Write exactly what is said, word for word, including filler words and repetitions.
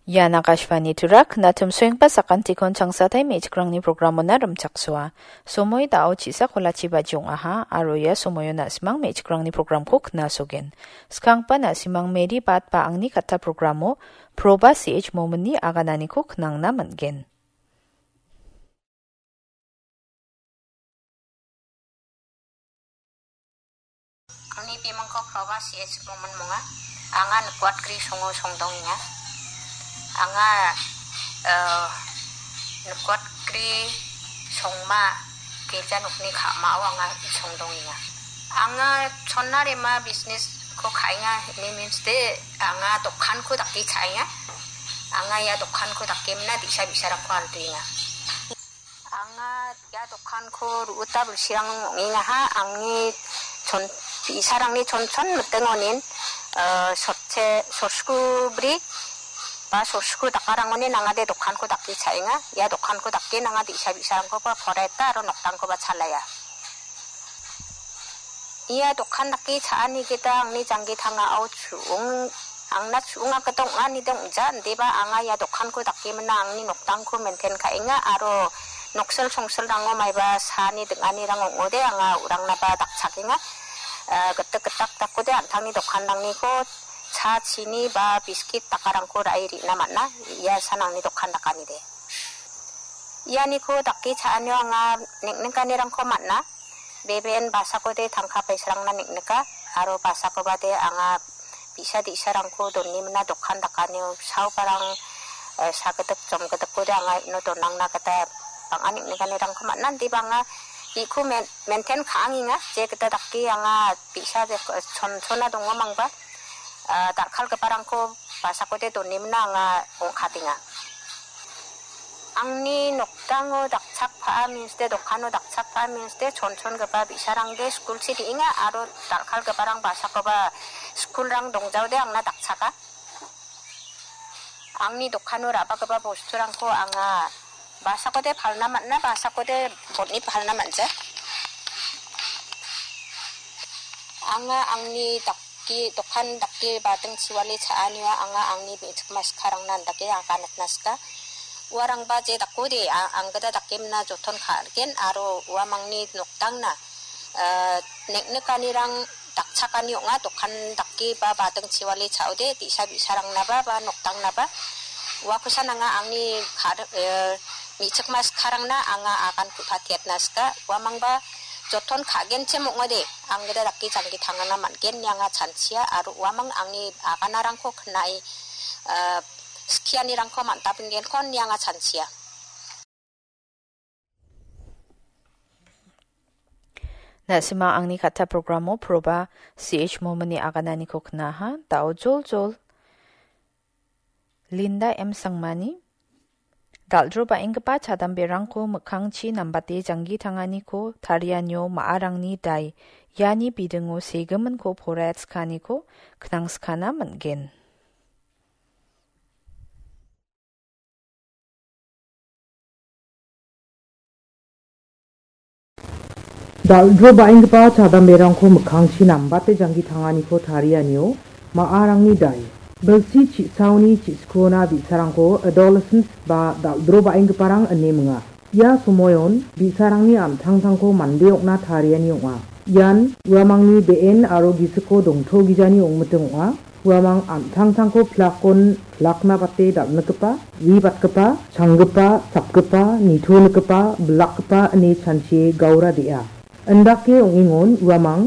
Ian Akashvani Turak, natum soengpa sakantikon changsatai me·chikrangni programona rimchaksoa. Somoi da·o chisa kolachi baji ong·aha, aro ia somoio na·simang me·chikrangni programko knasogen. Skangpa na·simang Mary Bat ba angni katta programo Proba C H Mominni agananiko knangna man·gen. Angni bimingko Proba C H Momin ong·a. Anga Nikuatgri songo songdongenga. Anga, eh, Nikuatgri songma girja nokni ka·mao anga songdongenga. Anga chonna rema businessko ka·enga, ini means de anga dokanko dake cha·enga. Anga ia dokanko dake mina bi·sa bi·sarangko alduenga. Anga ia dokanko ru·uta bilsirang ong·engaha, angni chon-, bi·sarangni chonchon mitingonin, eh, sotche, sorsku bri ba sorsku dakarangonin angade dokanko dake cha·enga. Ia dokanko dake nanga bi·sa bi·sarangkoba poreta aro noktangkoba chalaia. Ia dokan dake cha·ani gita angni janggi tangao chu·ong, angna chu·onga gita ong·anide ong·ja, indiba anga ia dokanko dake mina angni noktangko maintain ka·enga aro noksil songsilrango maiba saani ding·anirang ong·ode anga u·rangnaba dakchakenga. Eh, gitik gitak dakode an·tangni dokanrangniko cha, chini ba biskit dakarangko ra·e re·na man·a, ia san angni dokan dakanide. Ianiko dake cha·anio anga neng·nikanirangko man·a. Beben basakode tangka paisarangna neng·nika, aro basakobade anga bi·sa di·sarangko donimina dokan dakanio saobarang, eh, sagidik jomgidikode anga ino donangna gita bang·a neng·nikanirangko man·a. Indiba anga bi·ko men-, maintain ka·angenga, je gita dake anga bi·sa je, eh, chon-, chona dongomangba, eh, dal·kalgiparangko basakode donimina anga ong·katenga. Angni nokdango dakchakpaa means de, dokano dakchakpaa means de, chonchongipa bi·sarangde skulchi re·enga aro dal·kalgiparang basakoba skulrang dongjaode angna dakchaka. Angni dokano ra·bagipa bosturangko anga basakode palna man·a, basakode botni palna man·ja. Anga angni dak-, dake, dokan dake bading chiwale cha·anio anga angni me·chikma sikarangna andake aganatna sika. Uarangba je dakode, a-, anggita dake mina joton ka·rigen aro uamangni nokdangna, eh, neng·nikanirang dakchakani ong·a, dokan dake ba bading chiwale cha·ode, bi·sa bi·sarangnaba ba nokdangnaba. Uakosan anga angni kar-, eh, me·chikma sikarangna anga agan ku·patiatna sika. Uamangba joton ka·genchim ong·ode, anggita dake janggi tangana man·gen ine anga chanchia aro uamang angni aganarangko knae, ah, skianirangko man·tapengenko ine anga chanchia. Na·sima angni katta programo Proba C H Mominni agananiko knaha, da·o joljol. Linda M Sangmani, dal·dro ba·enggipa chadamberangko mikkangchi nambate janggi tanganiko tarianio ma·arangni dai, iani bidingo segiminko poraiatsikaniko knangskana man·gen. Dal·dro ba·enggipa chadamberangko mikkangchi nambate janggi tanganiko tarianio ma·arangni dai. Bilsi chi·saoni chi·sikuona bi·sarangko adolescents ba dal·dro ba·enggiparang ine minga. Ia somoion bi·sarangni an·tangtangko mande ong·na tariani ong·a. Ian uamangni be·en aro gisiko dongtogijani ong·miting ong·a. Uamang an·tangtangko pilakon pilakna bate dal·nikgipa, wibatgipa, changgipa, sapgipa, nitonikgipa, bilakgipa ine chanchie gaura de·a. Indake ong·engon uamang